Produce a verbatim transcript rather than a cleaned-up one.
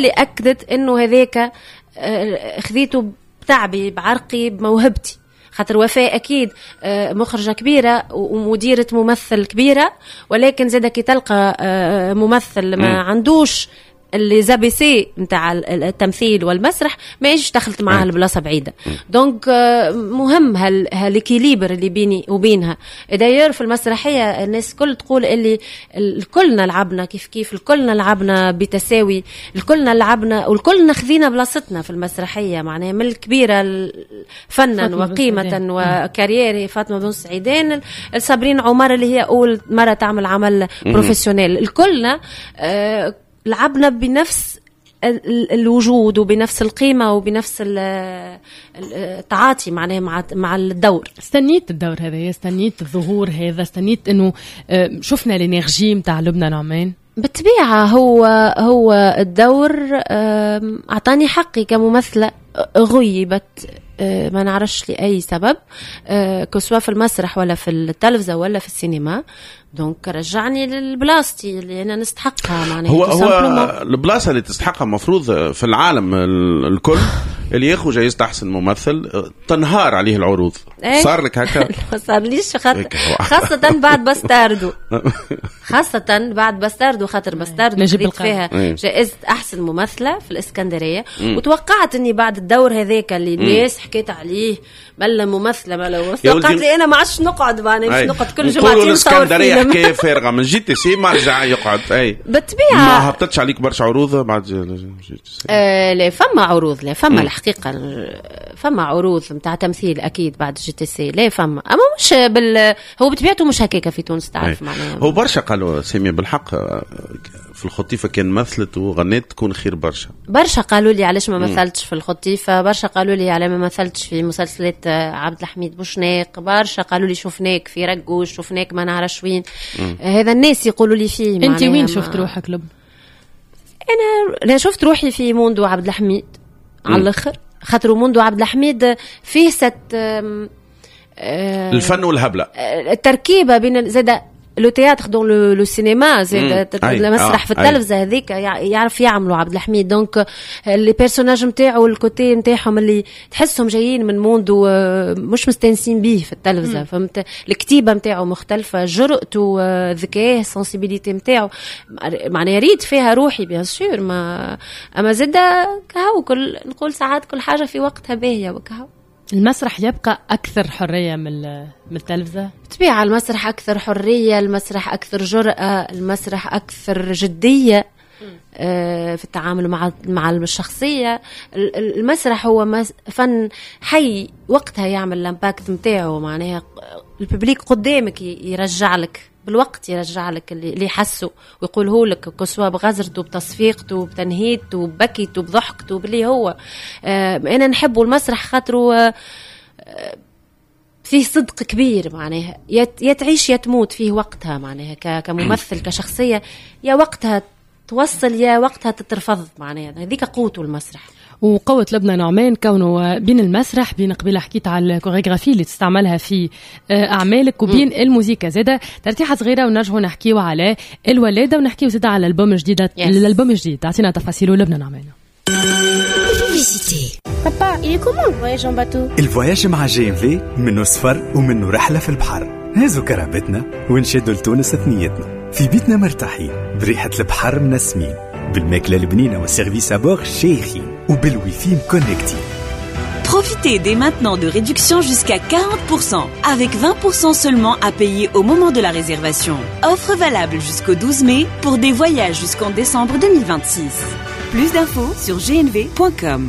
اللي اكدت انه هذاك آه، خذيته بتعبي، بعرقي، بموهبتي، خاطر وفاء اكيد آه، مخرجه كبيرة ومديره ممثل كبيره، ولكن زاد كي تلقى آه، ممثل ما عندوش les ABC نتاع التمثيل والمسرح ما يجيش دخلت معاه البلاصة بعيده. donc آه، مهم هال هال équilibre اللي بيني وبينها. d'ailleurs في المسرحية الناس الكل تقول اللي الكلنا لعبنا كيف كيف، الكلنا لعبنا بتساوي، الكلنا لعبنا والكلنا خذينا بلاصتنا في المسرحيه، معناها من الكبيرة فنا وقيمه و carrière فاطمة بن سعيدان، صابرين عمر اللي هي اول مرة تعمل عمل professionnel، الكلنا آه لعبنا بنفس الوجود وبنفس القيمة وبنفس التعاطي معناها مع مع الدور. استنيت الدور هذا، استنيت الظهور هذا، استنيت انه آه، شفنا l'énergie نتاع لبنى نعمان؟ بالطبيعه، هو هو الدور اعطاني حقي كممثله غيبت آه، ما نعرفش لاي سبب، que ce soit في المسرح ولا في التلفزة ولا في السينما، donc رجعني لبلاصتي اللي انا نستحقها معناها. هو هو البلاصة اللي تستحقها المفروض في العالم الكل، اللي ياخذ جائزة احسن ممثل تنهار عليه العروض. ايه؟ صار لك هكا؟ ما صارليش، خاطر خاصة بعد باستاردو، خاصة بعد باستاردو، خاطر باستاردو خذيت فيها ايه؟ جائزة أحسن ممثلة في الإسكندرية. مم. وتوقعت إني بعد الدور هذاك اللي الناس حكيت عليه، ملا ممثلة ملا، توقعت لي أنا ما عادش نقعد، معناها مش نقعد كل جمعتين نصور فيلم. حكاية فارغه، من JTC ما رجع يقعد اي. بالطبيعه. ما هبطتش عليك برشا عروض بعد JTC؟ آه لا، فما عروض، لا فما، الحقيقة فما عروض نتاع تمثيل اكيد بعد JTC، لا فما، اما مش بال هو بطبيعته مش هكاك في تونس، تعرف معناها. هو برشا قالوا سامية بالحق في الخطيفه كان مثلت وغنيت تكون خير برشا. برشا قالوا لي علاش ما مثلتش في الخطيفه، برشا قالوا لي على ما مثلتش في مسلسلات عبد الحميد بوشناق، برشا قالوا لي شفناك في رقوش، شفناك ما نعرفش وين. هذا الناس يقولوا لي فيه. انت وين شفت روحك لب؟ انا لا، شفت روحي في موندو عبد الحميد على الاخر، خاطر موندو عبد الحميد فيه cette الفن والهبله. التركيبة بين زاد le théâtre dans le cinéma، زاد المسرح في التلفزة هذيك يعرف يعملوا عبد الحميد. donc les personnages نتاعو، ال côté نتاعهم اللي تحسهم جايين من موندو مش مستانسين بيه في التلفزه، فهمت؟ الكتيبة نتاعو مختلفه، جرأته، ذكاه، sensibilité نتاعو، معناها ريت فيها روحي bien sûr. ما اما زاد كهو، كل نقول ساعات كل حاجة في وقتها باهيه وكهو. المسرح يبقى أكثر حرية من من التلفزة؟ بالطبيعة، المسرح أكثر حرية، المسرح أكثر جرأة، المسرح أكثر جدية آه، في التعامل مع مع الشخصية. المسرح هو فن حي، وقتها يعمل l'impact نتاعو، معناها ال public قدامك يرجع لك بالوقت، يرجع لك اللي اللي حسه ويقوله لك، que ce soit بغزرته، بتصفيقته، بتنهيدته، ببكيته، بضحكته، باللي هو آه انا نحبه المسرح خاطره آه فيه صدق كبير، معناها يا تعيش يا تموت فيه وقتها، معناها كممثل كشخصية يا وقتها توصل يا وقتها تترفض، معناها هذيك قوته المسرح. وقوة لبنى نعمان كونه بين المسرح، بين قبيلة حكيت على الكوريغرافي اللي تستعملها في آه، أعمالك، وبين الموسيقى زادة. ترتيحة صغيرة ونرجعوا نحكيو على الولادة ونحكيو زادة على الألبوم الجديد. yes. الألبوم الجديد تعطينا تفاصيله لبنى نعمان. Papa, il est comment le voyage en bateau؟ ال voyage مع GNV منه سفر ومنه رحلة في البحر. هزوا كرهبتنا ونشدوا لتونس ثنيتنا، في بيتنا مرتاحين، بريحة البحر منسمين، بالماكلة البنينة وال service à bord شايخين، وبالويفي مكونكتي. Profitez dès maintenant de réductions jusqu'à quarante pour cent avec vingt pour cent seulement à payer au moment de la réservation. Offre valable jusqu'au douze mai pour des voyages jusqu'en décembre deux mille vingt-six. Plus d'infos sur gnv point com.